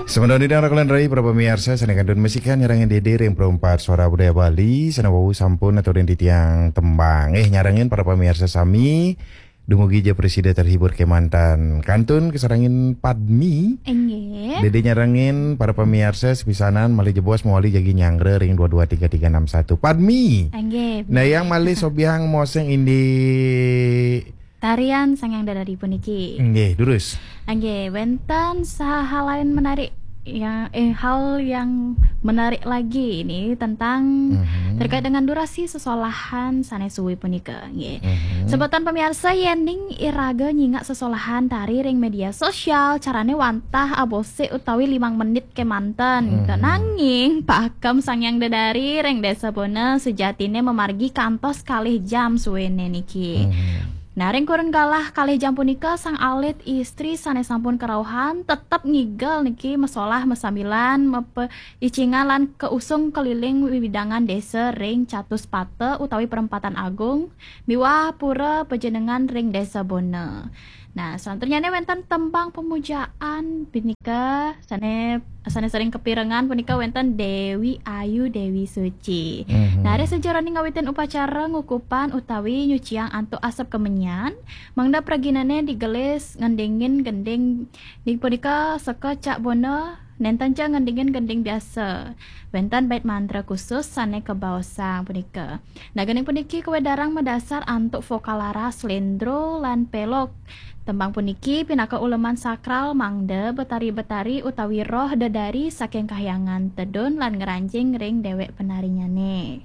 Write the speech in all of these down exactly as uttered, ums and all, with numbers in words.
Semeton titiang raka lan rai, para pamiarsa, sané kantun masikian nyarengin Dédé ring Pro empat Suara Budaya Bali, sané wau sampun aturin titiang tembang. Eh, nyarengin para pamiarsa sami, dumugi ja prasida terhibur kémanten. Kantun kasarengin Padmi. Inggih. Dédé nyarengin para pamiarsa sapisanan malih jebos mawali jagi nyanggra ring dua dua tiga tiga enam satu. Padmi. Inggih. Nah, yang malih sobiahang maosang indik tarian Sang Hyang Dedari puniki. Nggih, durus. Nggih, wénten sahalain menarik yang, eh, hal yang menarik lagi ini tentang Mhm. terkait dengan durasi sesolahan sané suwi punika, nggih. Mhm. Semeton pamiarsa, yéning iraga nyingak sesolahan tari ring média sosial, carané wantah abosik utawi limang menit kémanten. Mhm. Nanging pakem Sang Hyang Dedari ring Désa Bona sejatiné mamargi kantos kalih jam suwéné niki. Mhm. Nah, ring kurun galah kalih jam punika, sang alit istri sané sampun karauhan tetep ngigel niki masolah masambilan mapaicingan lan kausung keliling wewidangan désa ring Catuspata utawi Perempatan Agung miwah Pura Pajenengan ring Désa Bona. Nah, salanturnyané wénten tembang pemujaan punika sané, sané sering kapirengang punika wénten Déwi Ayu, Déwi Suci. Mhm. Nah, ring sajeroning ngawitin upacara ngukupan utawi nyuciang antuk asep kemenyan, mangda praginané digelis ngendingin gending, inggih punika seka Cak Bona, nénten ja ngendingin gending biasa. Wénten bait mantra khusus sané kabaosang punika. Nah, gending puniki kawedarang madasar antuk vokal laras, sléndro, lan pélog. Tembang puniki pinaka uleman sakral mangda betari-betari utawi roh dedari saking kahyangan tedun lan ngranjing ring déwék penarinyané.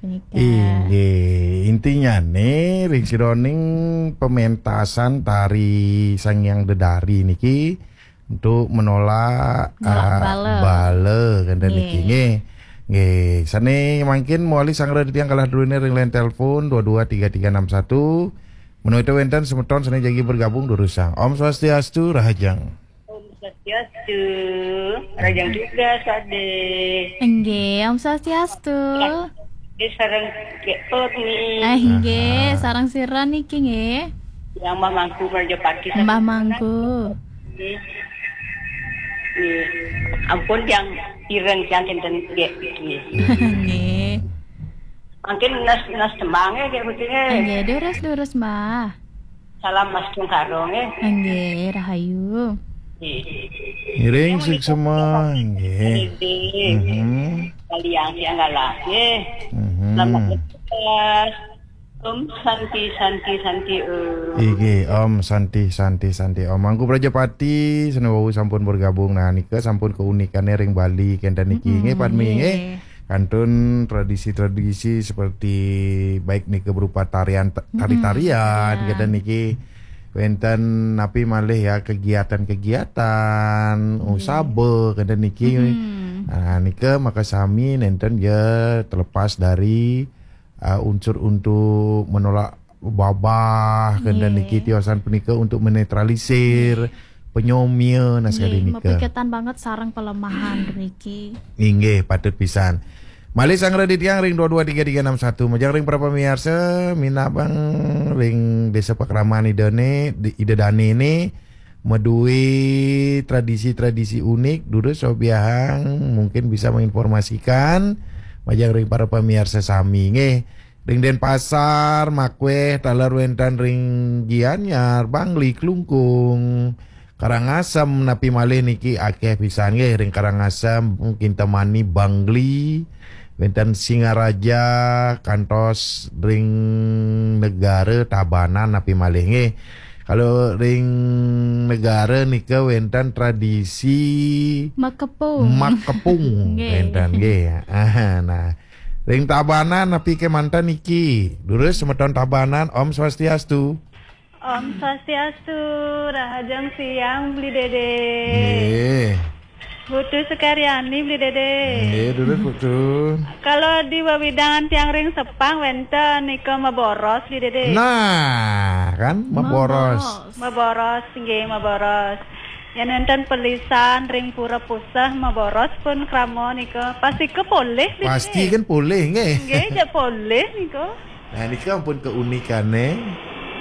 Punika. Inggih, intinyané ring sajeroning pementasan tari Sang Hyang Dedari niki untuk menolak, Menolak ah, bala. Bala, kenten niki. Nggih. Nggih. Nggih, sané mangkin mawali sanggra titiang galah druéné ring line telepon dua dua tiga tiga enam satu. Menawi wénten semeton sané jagi bergabung, durusang. Om Swastiastu, Rahajeng. Om Swastiastu, Rahajeng juga, Sadé. Nggih, Om Swastiastu. Nggih, sareng Gék Urmi. Ah, nggih, aha, sareng sira niki nggih. Yang Mbah Mangku Merjapati. Mbah Mangku. Nggih. Nggih. Ampun, yang ireng, yang kinten, nggih. Nggih. Nggih. Mangkin nas, nas tembangé, Gék, mungkin, nggih. Nggih, durus, durus, Mbah. Salam Mas Tungkaro, nggih. Nggih, rahayu. Nggih. Ngiring suksma, nggih. Nggih. Mhm. Kalian yang galah, nggih. Mhm. Selamat bertugas. Om Santi, Santi, Santi, Om. Inggih, Om Santi, Santi, Santi, Om. Mangku Prajapati, sané wau sampun bergabung. Nah, nika sampun keunikané ring Bali, kenten niki. Mm-mm, nggih, Padmi, nggih. Nggih. Kantun tradisi-tradisi seperti baik nika berupa tarian, ta-, mm-mm, tari-tarian, tarian. Kenten niki. Wénten napi malih ya, kegiatan-kegiatan, nggih, usaba, kenten niki. Mm-mm. Nah, nika makasami nénten ya terlepas dari ah, unsur untuk menolak babah, kenten nggih, niki tiosan punika untuk menetralisir, nggih, penyomia, nah, nggih, sakadi nika. Mapiketan banget sareng pelemahan niki. Inggih, patut pisan. Malih sanggra titiang ring dua dua tiga tiga enam satu, majeng ring para pamiarsa, minabang ring Désa Pakraman Ida né, di, Ida Dané né, madué tradisi-tradisi unik, durus sobiahang mungkin bisa menginformasikan majeng ring para pamiarsa sami, nggih. Ring Denpasar, Makwéh, taler wénten ring Gianyar, Bangli, Klungkung, Karangasem, napi malih niki akéh pisan, nggih, ring Karangasem, Kintamani, Bangli, wénten Singaraja, kantos ring Negara, Tabanan, napi malih, nggih. Kalau ring Negara nika wénten tradisi makepung. Makepung, nggih, wénten, nggih. Ah, nah, ring Tabanan napi kémanten niki? Durus semeton Tabanan, Om Swastiastu. Om Swastiastu, rahajeng siang, Bli Dédé. Nggih. Putu Sekaryani, Bli Dédé. Nggih, durus, Putu. Kalau di wewidangan tiang ring Sepang wénten nika maboros, Bli Dédé. Nah, kan, maboros. Maboros. Maboros, nggih, maboros. Yén wénten pelisan ring pura puseh maboros pun krama nika. Pastika polih, Bli Dédé. Pasti kan polih, nggih. Nggih, ja polih nika. Nah, nika ampun keunikané.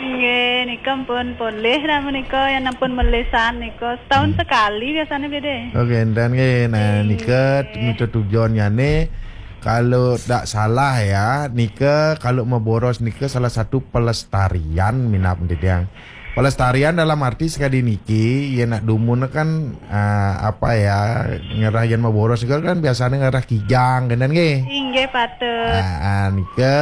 Nggih, nika pun polih lah menika, yang pun melisan nika. Setahun sekali biasanya, Dede. Oke, enten nggih. Nah, nika mito tujuannyané kalau tidak salah ya, nika kalau maboros nika salah satu pelestarian minab titiang. Pelestarian dalam arti sekadi niki, yén nak dumun kan, ah, apa ya, ngerah yén maboros nika kan biasanya ngerah kijang, kenten nggih? Inggih, patut. Ah, ah, nika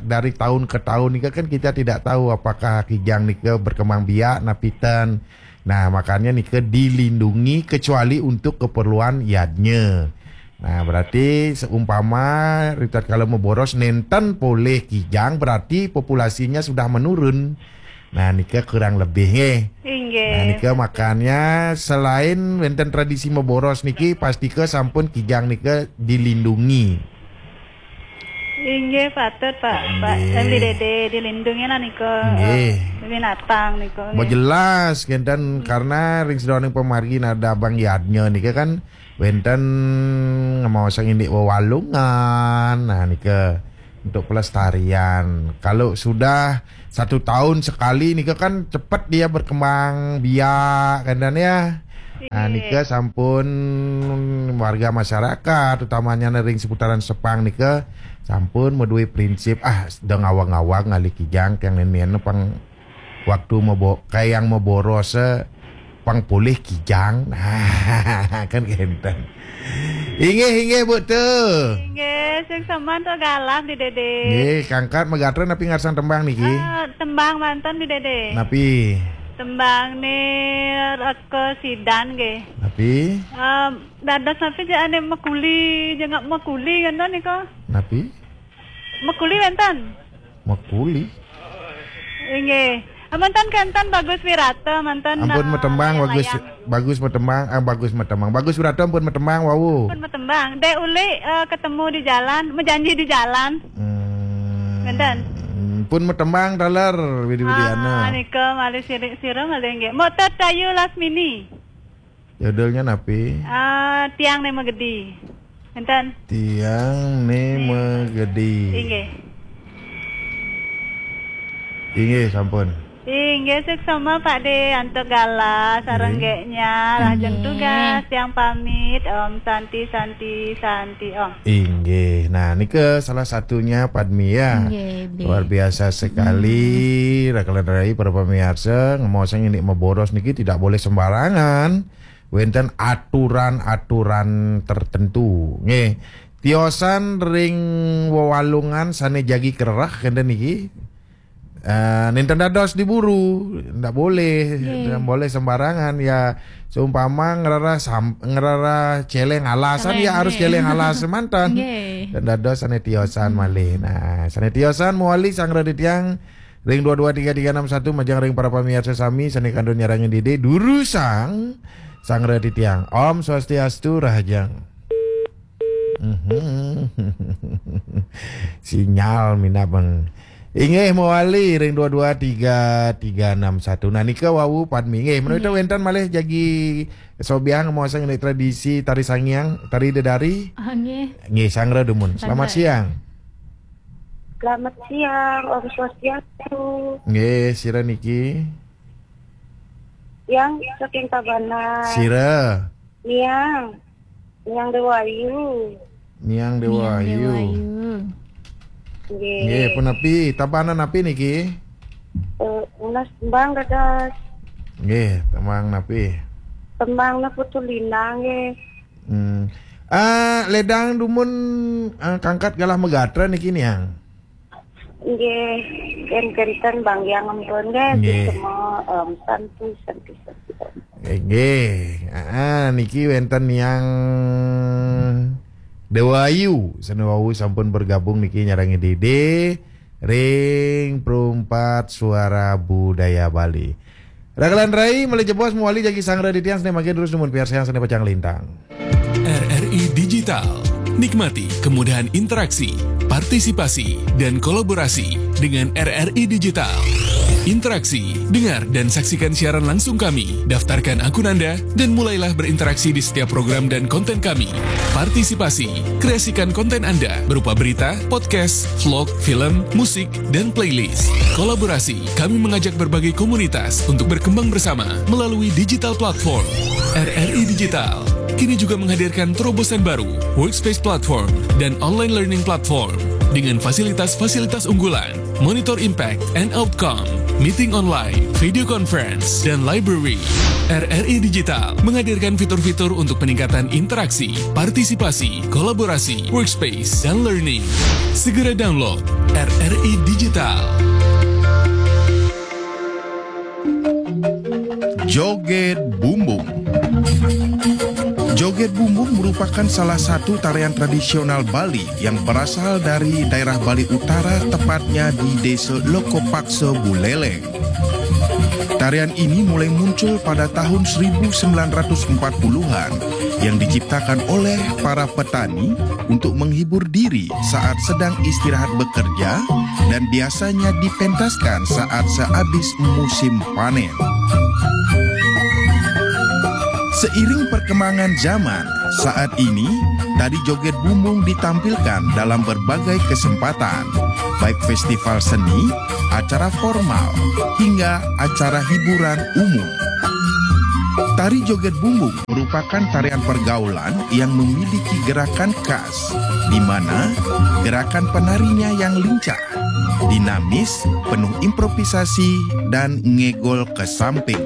dari tahun ke tahun nika kan kita tidak tahu apakah kijang nika berkembang biak napi ten. Nah, makanya nika dilindungi kecuali untuk keperluan yadnya. Nah, berarti seumpama ritatkala maboros nenten polih kijang, berarti populasinya sudah menurun. Nah, nika kurang lebih nggih. Inggih. Nah, nika makanya selain wénten tradisi maboros niki, pastika sampun kijang nika dilindungi. Inggih, patut, Pak. Pak, inggih. M D D D dilindungi lah nika, nggih. Eh, binatang nika, nggih. Jelas, kenten, karena ring sedaning pamargi ada Abang Yadnya nika kan wénten ngemaosang indik wewalungan. Nah, nika untuk pelestarian. Kalau sudah satu tahun sekali nika kan cepet dia berkembang biak, kenten ya. Nah, nika sampun warga masyarakat, utamanya ring seputaran Sepang nika sampun madué prinsip, ah, sedeng awang-awang ngalih kijang tiang nén pang waktu mabo-, kayang maboros, eh, pang polih kijang. Nah, kan kenten. Inggih, inggih, Bu Tu. Inggih, sing seman to galah di Dede. Nggih, kangkat magatra napi ngarsang tembang niki? Eh, tembang manten di Dede. Napi? Tembang ni Reka Sidan nggih. Napi? Em, dados napi jane mekuli, jengak mekuli ngoten nika? Napi? Mekuli wenten? Mekuli? Inggih. Amonten kenten Bagus Wirata, manten, ampun eh, matembang, Bagus, layang-layang. Bagus matembang, ah, Bagus matembang. Bagus Wirata ampun matembang, wau. Ampun matembang. Dek Uli, eh, ketemu di jalan, menjanji di jalan. Hmm. Wenten. Pun matembang taler, Widi Widiana. Ah, nika malih sirik sira malih nggih. Motor Tayu Lasmini. Judulnya napi? Ah, Tiang Ne Magedi. Enten. Tiang Ne Magedi. Inggih. Inggih, sampun. Inggih, suksma Pak De, antuk galah, sareng nggih. Rahajeng tugas, tiang pamit, Om Santi, Santi, Santi, Om. Inggih. Nah, nika salah satunya Padmi ya. Inggih, Bli. Luar biasa sekali. Rakelan rai para pemirsa, ngemaosang indik maboros niki tidak boleh sembarangan. Wenten aturan-aturan tertentu. Nggih. Tiosan ring wewalungan sane jagi kererah kenten niki. Eh, nenten dados diburu, ndak boleh, nggih. Ndak boleh sembarangan. Ya, seumpama ngererah sam-, ngererah celeng alasan, celeng, ya harus nggih. Celeng alas semanten. Nggih. Dan dados sane tiosan malih. Nah, sane tiosan mawali sang radi tiang ring dua dua tiga tiga enam satu majeng ring para pamiarsa sami sane kantun nyarengin Dede durusang sang radi tiang. Om Swastiastu, rahajeng. Mhm. Sinyal minab, Bang. Inggih mawali ring dua dua tiga tiga enam satu. Nah, nika wau Padmi. Nggih, menawi wenten malih jagi sobiahang maosang indik tradisi tari sangiang, tari dedari. Ah, nggih. Nggih, sangra dumun. Selamat siang. Selamat siang, Om Swastiastu. Nggih, sira niki? Yang saking Tabanan. Sira? Niang. Niang Dewayu. Niang Dewayu. Nggih. Nggih, punapi? Tabanan napi niki? Eh, unas tembang dados. Nggih, tembang napi? Tembang na Putu Lina nggih. Hmm. Ah, ledang dumun, ah, kangkat galah magatra niki, Niang. Nggih, ken-, kenten Bang Yang ampun nggih, nggih. Semua, em, santi, santi, santi. Eh, nggih. Ah, niki wenten Niang Dewayu, sane wau sampun bergabung niki nyarengin Dede ring Perumpat Suara Budaya Bali. Rakelan rai, malih jebos mawali jagi sang radi tiang sane mangkin terus dumun piarsayang sane pacang lintang. R R I Digital. Nikmati kemudahan interaksi, partisipasi, dan kolaborasi dengan R R I Digital. Interaksi, dengar dan saksikan siaran langsung kami. Daftarkan akun Anda dan mulailah berinteraksi di setiap program dan konten kami. Partisipasi, kreasikan konten Anda berupa berita, podcast, vlog, film, musik, dan playlist. Kolaborasi, kami mengajak berbagai komunitas untuk berkembang bersama melalui digital platform. R R I Digital kini juga menghadirkan terobosan baru, Workspace Platform dan Online Learning Platform dengan fasilitas-fasilitas unggulan, monitor impact and outcome, meeting online, video conference, dan library. R R I Digital menghadirkan fitur-fitur untuk peningkatan interaksi, partisipasi, kolaborasi, workspace, dan learning. Segera download R R I Digital. Joget Bumbung. Joget Bumbung merupakan salah satu tarian tradisional Bali yang berasal dari daerah Bali Utara, tepatnya di Desa Lokopaksa, Buleleng. Tarian ini mulai muncul pada tahun seribu sembilan ratus empat puluhan yang diciptakan oleh para petani untuk menghibur diri saat sedang istirahat bekerja dan biasanya dipentaskan saat sehabis musim panen. Seiring perkembangan zaman, saat ini tari joget bumbung ditampilkan dalam berbagai kesempatan, baik festival seni, acara formal, hingga acara hiburan umum. Tari joget bumbung merupakan tarian pergaulan yang memiliki gerakan khas, di mana gerakan penarinya yang lincah, dinamis, penuh improvisasi, dan ngegol ke samping.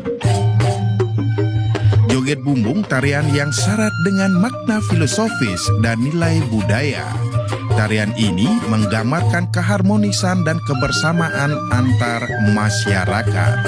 Joget bumbung tarian yang syarat dengan makna filosofis dan nilai budaya. Tarian ini menggambarkan keharmonisan dan kebersamaan antar masyarakat.